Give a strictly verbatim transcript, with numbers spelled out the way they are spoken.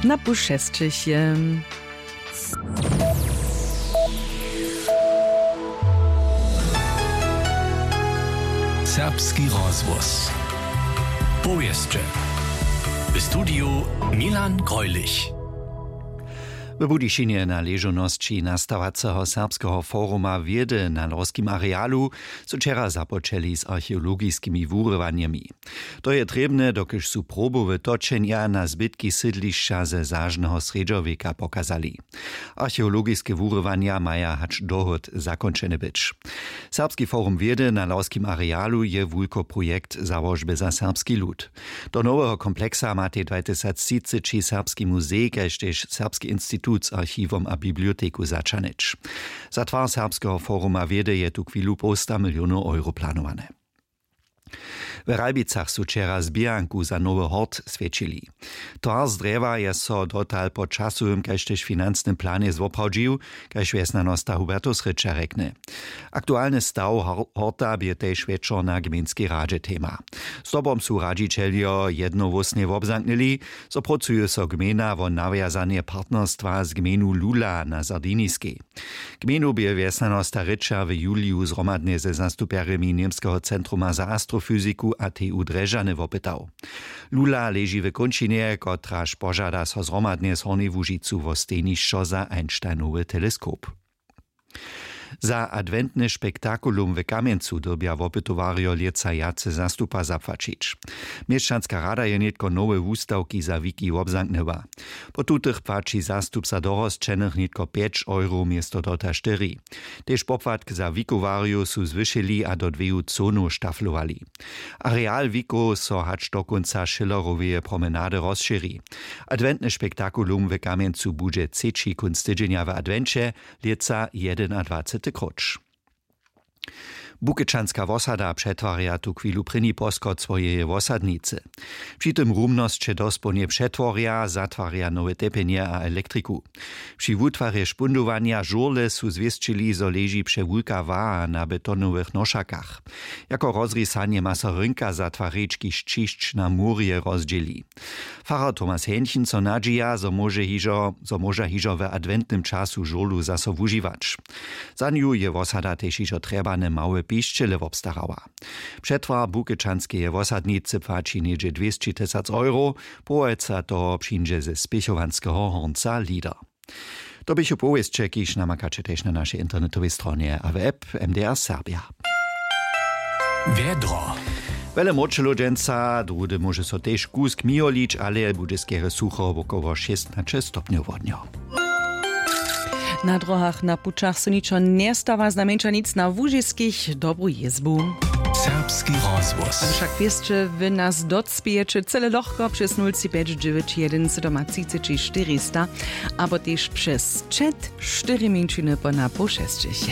Na pušesćich je. Serbski rozhłos. Powěsće. W studiju Milan Greulich. W Budyšinje na ležownosći nastawaceho Serbskeho foruma wědy na lorskim arealu su wčera započeli z archeologiskimi wurywanjemi. To je trěbne, dokelž su probowe točenja na zbytki sydlišća ze zažneho srjedźowjeka pokazali. Archeologiske wurywanja maja hač dohód zakónčene być. Serbski forum wědy na lawskim arealu je wulkoprojekt załožby za serbski lud. Do noweho kompleksa matej dwatysactřiceći serbski muzej kaž tež serbski institut z archiwom a biblioteku zaćahnyć. Za twar serbskeho foruma wědy je tu chwilu połsta milionow euro planowane. W Ralbicach su wčera zběhanku za nowy hort swjećili. Twar z drjewa je so dotal po časowym kaž tež financnym planje zwoprawdźił, kaž wjesnjanosta Hubertus Rěča rjekny. Aktualny staw hor- horta bě tež wječor na gmejnskej radźe tema. Zdobom su radźićeljo jednohłósnje wobzamknyli, zo prócuje so gmejna wo nawjazanje partnerstwa z gmejnu Lula na Sardiniskej. Gmejnu bě wjesnjanosta Rěča w juliju zhromadnje ze zastupjerjemi Němskeho centruma za astrofyziku a T U Drježdźany wopytał. Lula leži w kónčinje, kotraž požada so zhromadnje z Hornjej Łužicu wo stejnišćo za Einsteinowy teleskop. Za adwentny spektakulum w Kamjencu dyrbja wopytowarjo lětsa wjace zastupa zapłaćić. Měšćanska rada je nětko nowe wustawki za wiki wobzamknyła. Po tutych płaći zastupca dorosćenych nětko pjeć euro město dotal štyri. Tež popłatk za wikowarjow su zwyšili a do dweju conow štaflowali. Areal wikow so hač do kónca Schilleroweje promenady rozšěri. Adwentny spektakulum w Kamjencu budźe třeći kónc tydźenja w adwenće, lětsa jedynadwacety króć. Bukečanska wosada přetwarja tu chwilu prěni poschod swojeje wosadnicy. Při tym rumnosće dospołnje přetworja, zatwarja nowe tepjenje a elektriku. Při wutwarje špundowanja žurle su zwěsćili, zo leži přewulka waha na betonowych nošakach. Jako rozrisanje ma so rynka zatwarić, kiž ćišć na murje rozdźěli. Farar Thomas Henchen so nadźija, zo móže hižo zo móža hižo w adwentnym času žurlu zaso wužiwać. Za nju je wosada tež hižo trjebane małe pišćele wobstarała. Přetwar bukečanskeje wosadnicy płaći něhdźe dwěsći tysac euro, połojca toho přińdźe ze spěchowanskeho hornca Lieder. To běchu powěsće, kiž namakaće tež na našej internetowej stronje a w app M D R Serbia. Wjedro. Wjele mróčelow dźensa, druhdy móže so tež kusk mijolić, ale budźe skerje sucho, wokoło šěstnaće stopnjow wodnjo. Na dróhach, na pućach so ničo njestawa, znajmjeńša nic na łužiskich. Dobru jězbu. Serbski rozhłos. A wšak wěsće wy nas docpějeće cyle lochko přez nul tři pjeć dźewjeć jedyn sydomatřiceći štyrista abo tež přez čet štyri mjeńšiny po na poł šesćich.